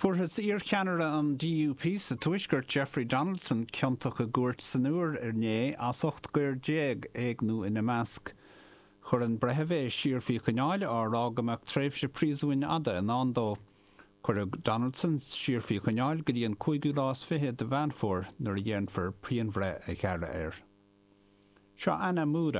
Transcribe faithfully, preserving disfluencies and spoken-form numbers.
Fuarthas iarcheannaire an DUP sa tuaisceart Jeffrey Donaldson ciontach i gcúirt san Iúr inné as ocht gcoir déag éigniú ina measc. Chuir an breitheamh é siar faoi choinneáil á rá go mbeadh tréimhse príosúin fhada i ndán dó. Cuireadh Donaldson siar faoi choinneáil go dtí an cúigiú lá is fiche de Mheán Fómhair nuair a dhéanfar pianbhreith a ghearradh air. Seo Anna Múra.